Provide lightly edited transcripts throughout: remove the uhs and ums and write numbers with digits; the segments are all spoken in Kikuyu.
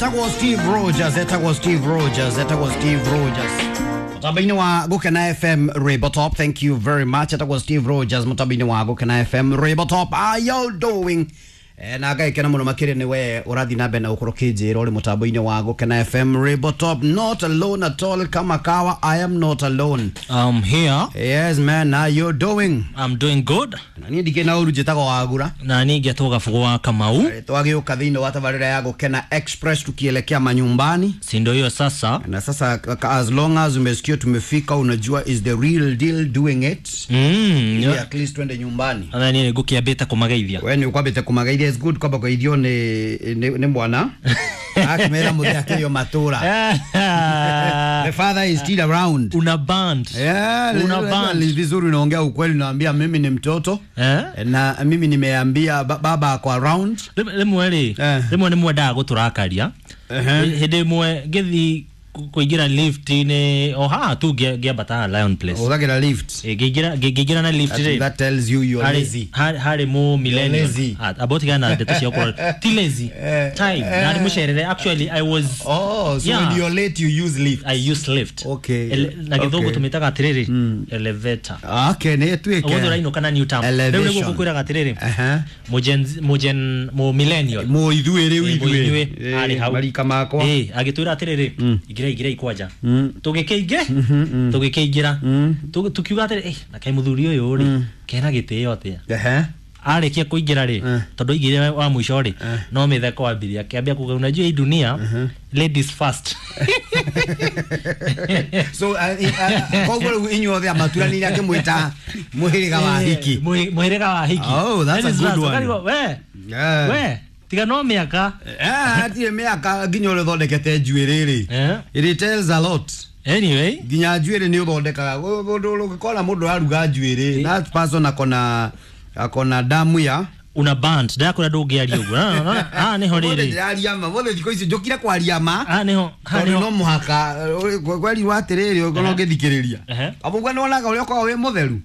Etagwo Steve Rogers, etagwo Steve Rogers, etagwo Steve Rogers. Mutambo-inĩ wa Gũkena FM Rainbow Top, thank you very much. Etagwo Steve Rogers mutambo-inĩ wa Gũkena FM Rainbow Top. How you doing? Na ngaikena muno makiria ni we urathi na mbere na gukorwo kinjira uri mutambo-inĩ wa Gũkena FM Rainbow Top. Not alone at all, kama kawa, I am not alone. I'm here. Yes man, how you doing? I'm doing good. Na niĩ ndikĩ na ũru njĩtagwo Wagura. Na niĩ ngetwo Gabugu wa Kamau. Twagĩũka thĩinĩ wa tabarĩra ya Gũkena Express tukielekea manyumbani. Si ndio hiyo sasa? Na sasa as long as umesikia tumefika, unajua is the real deal doing it. Ili at least twende nyumbani. Na niĩ ngũkĩambĩte kũmageithia. We nĩ ũkwambĩte kũmageithia, is good kwamba kũgeithio nĩ mwana akĩmera mũthee akĩrio matũra. The father is still around. Una band. Yeah, Una band. ni vizuri unaongea ukweli, unaambia mimi ni mtoto Eh? na mimi nimeambia baba ako around. Rĩmwe rĩ, Eh. rĩmwe nĩ mwendaga gũtũrakaria. Hĩndĩ ĩmwe ngĩthiĩ kũingĩra lift-inĩ o haha tu ngĩambata Lion Place. Ũhũthagĩra lift. Ngĩingĩra na lift That, rĩ, that tells you you're lazy. harĩ mũ millennial. Lazy. Amba ũtigane na ndeto cia gũkorwo ti lazy. Time na mũcerere actually I was. Oh, so Yeah. when you're late you use lift. I use lift. Okay. Na gĩthũngũ Okay. tũmĩtaga atĩrĩrĩ, elevator. Okay, nĩ ĩtuĩke. Ũguo ũrainũka na new term. Rĩu nĩguo Elevation. ngũkwĩraga atĩrĩrĩ, Aha. mũgen mũ millennial. Mũ ithuĩ rĩu Ĩ, ithuĩ. mũithuĩ, arĩ hau. Marika makwa. Ĩ, agĩtwĩra atĩrĩrĩ, ingĩra ingĩra kwanja. Tũgĩkĩingĩra, tũgĩkĩingĩra. Tũkiuga atĩrĩ, "Eh, na kaĩ mũthuri ũyũ rĩ, kena gĩtĩo atĩa?" Ehe. Arĩkia kũingĩra rĩ, tondũ aingĩrire wa mũico rĩ, no mĩtheko ambirie akĩambia kuga, unajua hii dunia, ladies first. So koguo rĩu inyuothe amaturanĩire akĩmwĩta mũhĩrĩga wa hiki. Mũhĩrĩga wa hiki. Oh, that's a Ladies good first. one. Ũkarigwo, we Yeah. we tiga no mĩaka. Hatirĩ mĩaka nginya ũrĩa ũthondekete njuĩrĩ rĩ. It tells a lot. Anyway, Nginya njuĩrĩ nĩ ũthondekaga. Mũndũ ũngĩkona mũndũ araruga njuĩrĩ, that person akona damu ya una band ndakwĩra ndũngĩaria ũguo. Haha nĩho Mũthĩ rĩrĩ, ndĩraria ma, mũthĩ thikũ ici njũkire kwaria ma. haha nĩho, haha Tondũ nĩho. no mũhaka kwerirwo atĩrĩrĩ ũkorwo ũngĩthikĩrĩria. Abu nĩwonaga ũrĩa ũkoragwo wĩ mũtheru.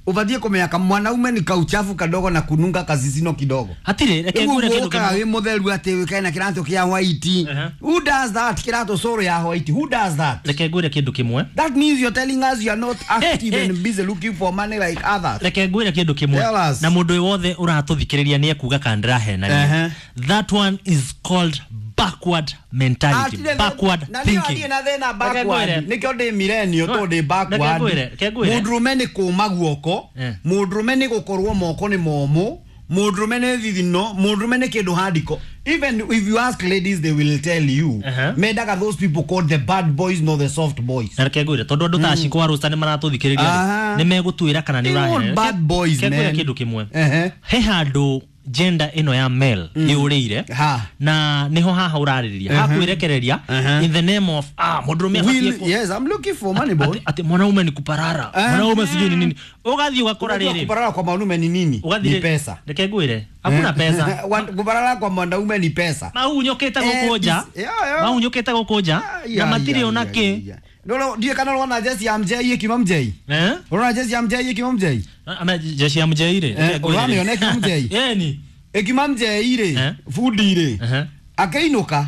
Ũbatiĩ kũmenya mwanaume ni kauchafu kadogo na kununga kazizino kidogo. Hatirĩ, reke Rĩu ngwĩre ũguo kĩndũ ũkaga kĩmwe. wĩ mũtheru atĩ wĩkae na kĩratũ kĩa white. Who does that? Kĩratũ cũrũ ya white. Who does that? Reke ngwĩre kĩndũ kĩmwe. That means you're telling us you are not active and busy looking for money like others. Reke ngwĩre kĩndũ kĩmwe. Tell us. Na mũndũ wothe ũratũthikĩrĩria nĩ ekuga kana ndĩrahenania. That one is called backward mentality, backward na thinking. niĩ na thĩna Reke backward. ngwĩre. Nĩkĩo ndĩ millennial tondũ ndĩ backward. Reke ngwĩre, reke ngwĩre. Mũndũrũme nĩ kũma guoko, mũndũrũme nĩ gũkorwo moko nĩ momũ, mũndũrũme nĩ thithino, mũndũrũme nĩ kĩndũ handiko. Even if you ask ladies they will tell you. Mendaga those people called the bad boys not the soft boys. Na reke ngwĩre tondũ andũ ta Ashiko wa Rũsta nĩ maratũthikĩrĩria rĩ, nĩ megũtuĩra kana nĩ They want ũrahenania. bad boys, Reke ngwĩre man. kĩndũ kĩmwe. He handũ gender ĩno ya male yũrĩire na nĩho haha ũrarĩrĩria hakwĩrekereria in the name of mũndũrũme abatiĩ Yes, I'm looking for money boy. Ati mwanaume ni kuparara, mwanaume sijui ni nini. Ũgathiĩ ũgakora Unajua rĩrĩ. Kuparara kwa mwanaume ni nini? Ũgathiĩ Ni pesa. Reke ngwĩre, hakuna pesa. Kuparara kwa mwanaume ni pesa. Mahunyũkĩte gũkũ nja. Mahunyũkĩte gũkũ nja na matirĩ ona kĩ. Ndiũĩ kana ũrona jeci ya mjei ĩkiuma mjei. Ũrona jeci ya mjei ĩkiuma mjei. Ama jeshi ya mjei rĩ. Ũramĩona ĩkiuma mjei. Yeni. Ĩkiuma mjei rĩ, bundi rĩ. Akĩinũka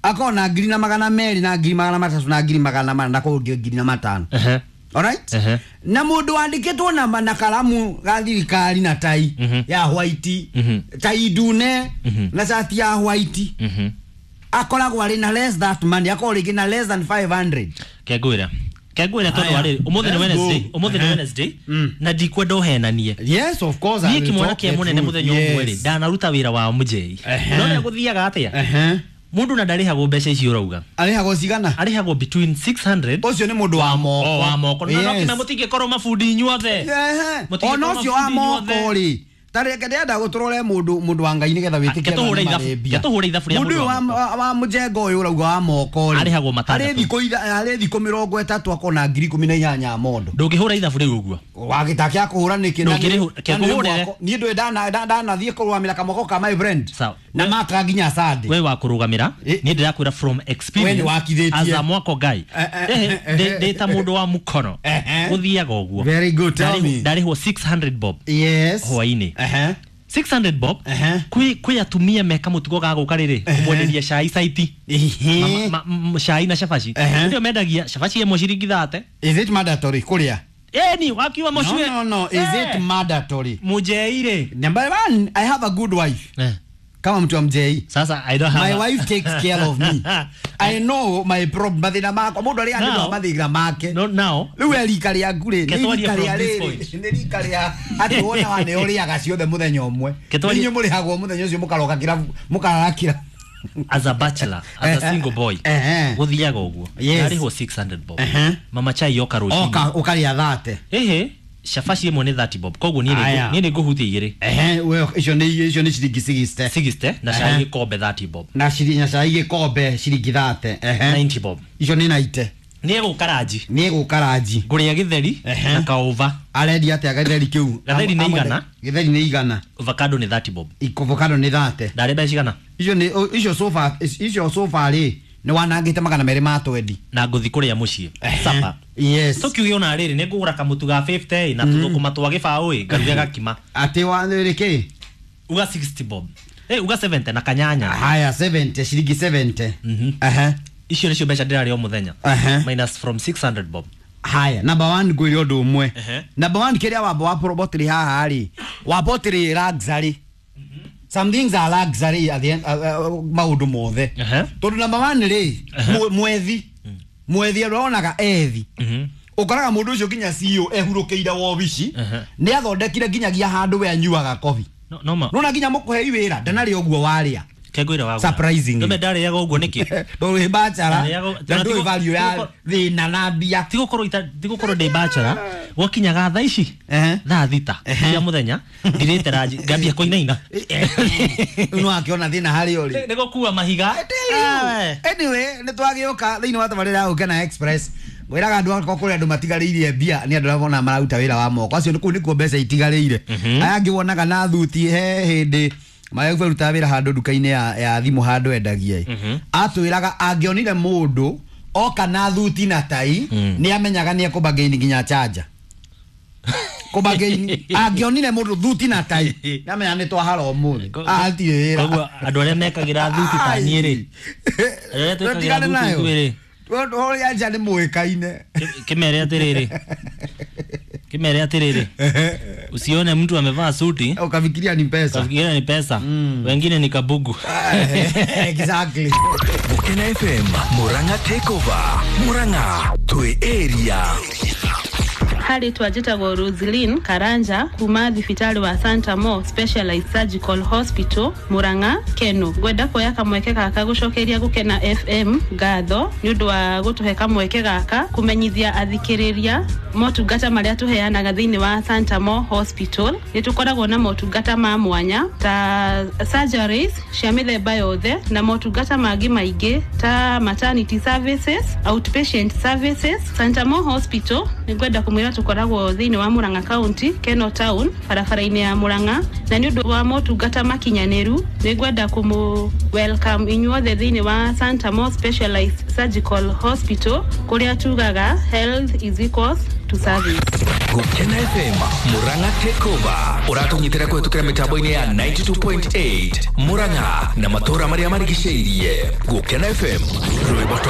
akona 200,000 na 300,000 na 400,000 na kũu 500,000. Alright? Na mũndũ wandĩkĩtwo na karamu ga thirikari na tai ya white, tai ndune na cati ya white, akoragwo arĩ na less that money, akoragwo rĩngĩ na less than 500. Kengwĩra kengwĩra tondũ Aya. arĩ ũmũthĩ nĩ Let's Wednesday, go. ũmũthĩ nĩ Wednesday na ndikwenda ũhenanie. Yes, of course. I Niĩ will kĩmwana talk kĩa the mũnene truth. mũthenya ũmwe rĩ, Yes. ndanaruta wĩra wa mũjei. No ũrĩa gũthiaga atĩa? Mũndũ na ndarĩhagwo mbeca icio ũrauga. Arĩhagwo cigana? Arĩhagwo between 600. Ũcio nĩ mũndũ wa moko. O wa moko. Na no Yes. kĩna mũtingĩkorwo mabundi inyuothe. Mũtingĩkorwo Ona ũcio wa mabundi moko inyuothe. rĩ, ta reke ndĩrenda gũtũrore mũndũ wa Ngai nĩgetha wĩtĩkie Ke tũhũre andũ ithabu, marĩ mbia. ke tũhũre ithabu rĩa Mũndũ mũndũ ũyũ wa wa mũjengo ũyũ ũrauga wa moko rĩ, Arĩhagwo matandatũ. harĩ thikũ 30 akona 18,000 mondo. Ndũngĩhũra ithabu rĩu ũguo. Wagĩta kĩa kũhũra nĩkĩ? Na Ndũngĩrĩhũra- ke ngũhũrĩre. Niĩ ndũĩ ndanathiĩ kũrũgamĩra kamoko ka my friend. Sawa. Na maka nginya Sunday. We wa kũrũgamĩra, niĩ ndĩrakwĩra from experience We nĩ wakithĩtie. as a mwako guy. Ndĩ ta mũndũ wa mũkono. Gũthiaga ũguo. Very good, tell me. Ndarĩhwo 600 bob. Yes. Hwaĩ-inĩ. 600 bob. Kwĩ atumia meka mũtugo ga gũka rĩrĩ kũmwenderia cai saiti. Cai na cabaci. Ndio mendagia cabaci ĩmwe ciringi 30. Is it mandatory kũrĩa? Eni wakiwa mũcue. No, is it mandatory? Mũnjeire. Number one, I have a good wife. Kama mtu wa mjei. Sasa I don't have My wife takes care of me. I know my problem. Mathina makwa mundu aria andũ mathina make. No, now. Riu rika rĩaku rĩ, nĩ rika rĩa rĩrĩ, nĩ rika rĩa atĩ wona wa nĩ ũrĩaga ciothe mũthenya ũmwe. Inyuĩ mũrĩhagwo mũthenya ũcio mũkaroka kĩrabu, mũkarara kĩrabu. As a bachelor, as a single boy, gũthiaga ũguo. Ndarĩhwo 600 bob. Mama chai yoka rũcinĩ. Oka ũkarĩa 30. Ehe. Cabaci ĩmwe nĩ 30 bob. Koguo niĩ nĩ ngũhutia igĩrĩ. We icio nĩ ciringi 60. 60 na cai gĩkombe 30 bob. Na cai gĩkombe ciringi 30. 90 bob. Icio nĩ 90. Nĩ egũka ranji. Ngũrĩa gĩtheri na kaũva. Arendia atĩa gĩtheri kĩu? Gĩtheri nĩ igana. Gĩtheri nĩ igana. Avocado nĩ 30 bob. Avocado nĩ 30. Ndarĩ mbeca cigana? Icio sofa rĩ nĩ wanangĩte 220. Na ngũthi kũrĩa mũciĩ. Supper. Yes. Tũkiuge ona rĩrĩ nĩ ngũgũra kamũtu ga 50 na tũthũkũma twa gĩbaũ ĩ ngaruge gakima. Atĩ wa rĩ Uga 60 bob. Uga 70 na kanyanya. Haya 70 ciringi 70. Icio nĩcio mbeca ndĩrarĩa o mũthenya. Minus from 600 bob. Haya, number 1 ngwĩre ũndũ ũmwe. Number 1 kĩrĩa wamba wa probotri haha rĩ, wabotri luxury. Some things are luxury at the end, maũndũ mothe. Tondũ number 1 rĩ, mwethi aronaga ethi. Ũkoraga mũndũ ũcio nginya CEO ehurũkĩire wobici, nĩ athondekire nginyagia handũ we anyuaga kobi. No ma. Nona nginya mũkũhei wĩra, ndanarĩa ũguo warĩa. Kengwira wagu. Surprisingly. Ndio ndarĩaga ũguo nĩkĩ? Ndũrĩ bachelor. Ndũrĩ value ya thĩna na mbia. Tigũkorwo ndĩ bachelor. Gwakinyaga thaa ici thaa 6 cia mũthenya ndirĩte ranji ngambia kũinaina. No akĩona thĩna harĩ ũrĩ. Nĩ gũkua mahiga. Anyway, nĩ twagĩũka thĩinĩ wa tabarĩra ya Gũkena Express. Ngwĩraga andũ akwa kũrĩ andũ matigarĩirie mbia nĩ andũ arĩa mona mararuta wĩra wa moko. Acio kũu nĩkuo mbeca itigarĩire. Aya angĩ wonaga na thuti he hĩndĩ Mayo ruta wĩra handũ nduka-inĩ ya thimũ handũ endagia. Atwĩraga angĩonire mũndũ oka na thuti na tai nĩ amenyaga nĩ ekũbagaini nginya charger. Kũbagaini angĩonire mũndũ thuti na tai nĩ amenyaga nĩ twahara ũmũthĩ. Atirĩ wĩra. Koguo andũ arĩa mekagĩra thuti ta niĩ rĩ. Andũ arĩa twĩkagĩra thuti ithuĩ rĩ. Ũrĩa nja nĩ mũĩkaine. Kĩmere atĩrĩrĩ. Kimere atĩrĩrĩ. Usione mtu amevaa suti ukafikiria ni pesa. Ukafikiria ni pesa. Wengine ni kabugu. Exactly. Gũkena FM, Murang'a Takeover. Murang'a twi area. Harĩ twanjĩtagwo Roslyn Karanja kuma thibitarĩ wa Santa Mo Specialized Surgical Hospital Murang'a Keno. Ngwenda kuoya kamweke gaka gũcokeria Gũkena FM ngatho nĩ ũndũ wa gũtũhe kamweke gaka kũmenyithia athikĩrĩria motungata marĩa tũheanaga thĩinĩ wa Santa Mo Hospital. Nĩ tũkoragwo na motungata ma mwanya ta surgeries cia mĩthemba yothe na motungata mangĩ maingĩ ta maternity services, outpatient services. Santa Mo Hospital nĩ ngwenda kũmwĩra tũkoragwo thĩinĩ wa Murang'a County, Keno Town, barabara-inĩ ya Murang'a, na nĩ ũndũ wa motungata makinyanĩru nĩ ngwenda kũmũ welcome inyuothe thĩinĩ wa Santa Mo Specialized Surgical Hospital kũrĩa tugaga health is equals to service. Gũkena FM, Murang'a Takeover. Ũratũnyitĩra kũhetũkĩra mĩtambo-inĩ ya 92.8 Murang'a na matũũra marĩa marigicĩirie. Gũkena FM, rwĩmbo.